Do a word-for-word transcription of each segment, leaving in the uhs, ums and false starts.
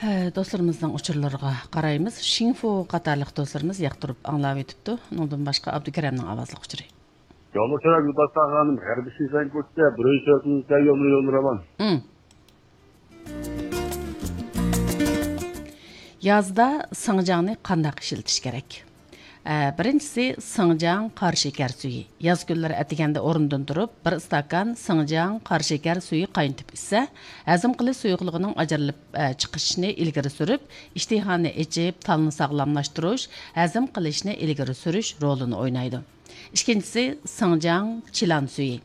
ئە، دوستلىرىمىزنىڭ ئۇچۇرلىرىغا قارايمىز. شىڭفۇ قاتارلىق دوستلىرىمىز ياقتۇرۇپ ئاڭلاۋېتىپتۇ. ئۇنىڭدىن باشقا ئابدۇكېرەمنىڭ ئاۋازلىق ئۇچۇرى. يولدىشىم يولداشلار خانىم، غەربىي شىنجاڭ كوچىسى، بىرىنچى تۆتىنچى يولنى يولنى راۋان. ئىم. يازدا سىڭجاڭنى قانداق ئىشلىتىش كېرەك؟ ئە، بىرىنچىسى، سىڭجاڭ قارا شېكەر سۈيى. ياز كۈنلىرى ئەتىگەندە ئورنىدىن تۇرۇپ، بىر ئىستاكان سىڭجاڭ قارا شېكەر سۈيى قاينىتىپ ئىچسە، ھەزىم قىلىش سۇيۇقلۇقىنىڭ ئاجرىلىپ، ئە، چىقىشىنى ئىلگىرى سۈرۈپ، ئىشتىھانى ئېچىپ، تالنى ساغلاملاشتۇرۇش، ھەزىم قىلىشنى ئىلگىرى سۈرۈش رولىنى ئوينايدۇ. ئىككىنچىسى، سىڭجاڭ چىلان سۈيى.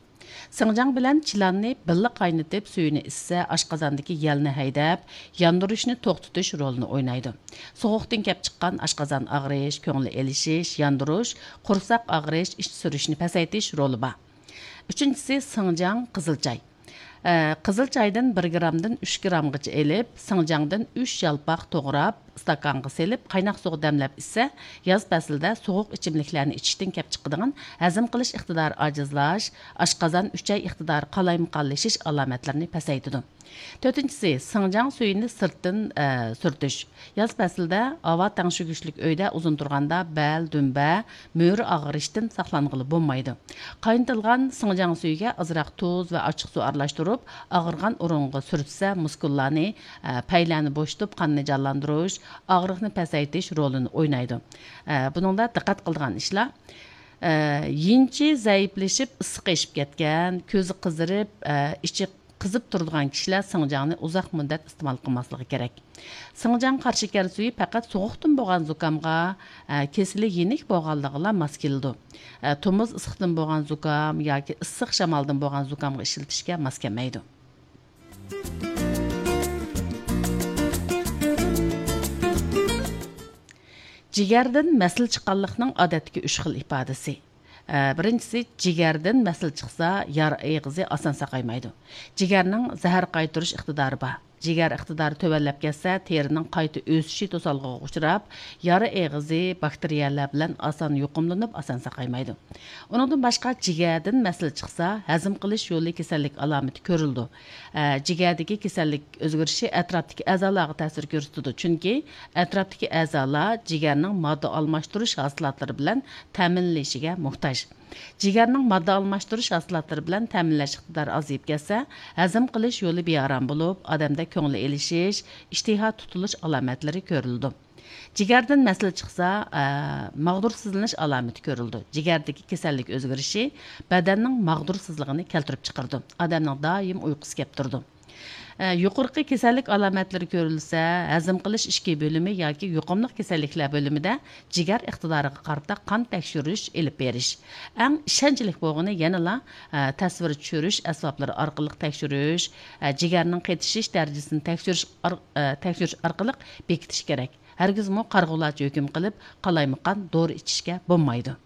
سىڭجاڭ بىلەن چىلاننى بىللە قاينىتىپ، سۈيىنى ئىچسە، ئاشقازاندىكى يەلنى ھەيدەپ، ياندۇرۇشنى توختىتىش رولىنى ئوينايدۇ. سوغۇقتىن كەپ چىققان ئاشقازان ئاغرىش، كۆڭۈل ئېلىشىش، ياندۇرۇش، قورساق ئاغرىش، ئىچ سۈرۈشنى پەسەيتىش رولى بار. ئۈچىنچىسى، سىڭجاڭ قىزىل چاي. ئە، قىزىل چايدىن بىر گرامدىن ئۈچ گرامغىچە ئېلىپ، سىڭجاڭدىن ئۈچ يالپاق توغراپ، ئىستاكانغا سېلىپ، قايناق سۇغا دەملەپ ئىچسە، ياز پەسلىدە سوغۇق ئىچىملىكلەرنى ئىچىشتىن كەپ چىقىدىغان ھەزىم قىلىش ئىقتىدارى ئاجىزلاش، ئاشقازان ئۈچەي ئىقتىدارى قالايمىقانلىشىش ئالامەتلىرىنى پەسەيتىدۇ. تۆتىنچىسى، سىڭجاڭ سۈيىنى سىرتتىن، ئە، سۈرتۈش. ياز پەسلىدە ھاۋا تەڭشىگۈچلۈك ئۆيدە ئۇزۇن تۇرغاندا بەل، دۈمبە، مۈرە ئاغرىشتىن ساقلانغىلى بولمايدۇ. قاينىتىلغان سىڭجاڭ سۈيىگە ئازراق تۇز ۋە ئاچچىق سۇ ئارىلاشتۇرۇپ، ئاغرىغان ئورۇنغا سۈرتسە، مۇسكۇللارنى، ئە، پەيلەرنى بوشىتىپ، قاننى جانلاندۇرۇش، ئاغرىقنى پەسەيتىش رولىنى ئوينايدۇ. ئە، بۇنىڭدا دىققەت قىلىدىغان ئىشلار، ئە، يىنچى زەئىپلىشىپ، ئىسسىقى ئېشىپ كەتكەن، كۆزى قىزىرىپ، ئە، ئىچى قىزىپ تۇرىدىغان كىشىلەر سىڭجاڭنى ئۇزاق مۇددەت ئىستېمال قىلماسلىقى كېرەك. سىڭجاڭ قارا شېكەر سۈيى پەقەت سوغۇقتىن بولغان زۇكامغا، ئە، كېسىلى يېنىك بولغانلىقىغىلا ماس كېلىدۇ. ئە، تومۇز ئىسسىقتىن بولغان زۇكام ياكى ئىسسىق شامالدىن بولغان زۇكامغا ئىشلىتىشكە ماس كەلمەيدۇ. جىگەردىن مەسىلە چىققانلىقنىڭ ئادەتتىكى ئۈچ خىل ئىپادىسى. ئە، بىرىنچىسى، جىگەردىن مەسىلە چىقسا، يارا ئېغىزى ئاسان ساقايمايدۇ. جىگەرنىڭ زەھەر قايتۇرۇش ئىقتىدارى بار. جىگەر ئىقتىدارى تۆۋەنلەپ كەتسە، تېرىنىڭ قايتا ئۆسۈشى توسالغۇغا ئۇچراپ، يارا ئېغىزى باكتېرىيەلەر بىلەن ئاسان يۇقۇملىنىپ، ئاسان ساقايمايدۇ. ئۇنىڭدىن باشقا، جىگەردىن مەسىلە چىقسا، ھەزىم قىلىش يولى كېسەللىك ئالامىتى كۆرۈلىدۇ. ئە، جىگەردىكى كېسەللىك ئۆزگىرىشى ئەتراپتىكى ئەزالارغا تەسىر كۆرسىتىدۇ، چۈنكى ئەتراپتىكى ئەزالار جىگەرنىڭ ماددا ئالماشتۇرۇش ھاسىلاتلىرى بىلەن تەمىنلىنىشىگە موھتاج. جىگەرنىڭ ماددا ئالماشتۇرۇش ھاسىلاتلىرى بىلەن تەمىنلەش ئىقتىدارى ئازىيىپ كەتسە، ھەزىم قىلىش يولى بىئارام بولۇپ، ئادەمدە كۆڭۈل ئېلىشىش، ئىشتىھا تۇتۇلۇش ئالامەتلىرى كۆرۈلىدۇ. جىگەردىن مەسىلە چىقسا، ئە، ماغدۇرسىزلىنىش ئالامىتى كۆرۈلىدۇ. جىگەردىكى كېسەللىك ئۆزگىرىشى بەدەننىڭ ماغدۇرسىزلىقىنى كەلتۈرۈپ چىقىرىدۇ. ئادەمنىڭ دائىم ئۇيقۇسى كەپ تۇرىدۇ. ئە، يۇقىرىقى كېسەللىك ئالامەتلىرى كۆرۈلسە، ھەزىم قىلىش ئىچكى بۆلۈمى ياكى يۇقۇملۇق كېسەللىكلەر بۆلۈمىدە جىگەر ئىقتىدارىغا قارىتا قان تەكشۈرۈش ئېلىپ بېرىش. ئەڭ ئىشەنچلىك بولغىنى يەنىلا، ئە، تەسۋىر چۈشۈرۈش ئەسۋابلىرى ئارقىلىق تەكشۈرۈش، ئە، جىگەرنىڭ قېتىشىش دەرىجىسىنى تەكشۈرۈش ئار-، ئە، تەكشۈرۈش ئارقىلىق بېكىتىش كېرەك. ھەرگىزمۇ قارىغۇلارچە ھۆكۈم قىلىپ، قالايمىقان دورا ئىچىشكە بولمايدۇ.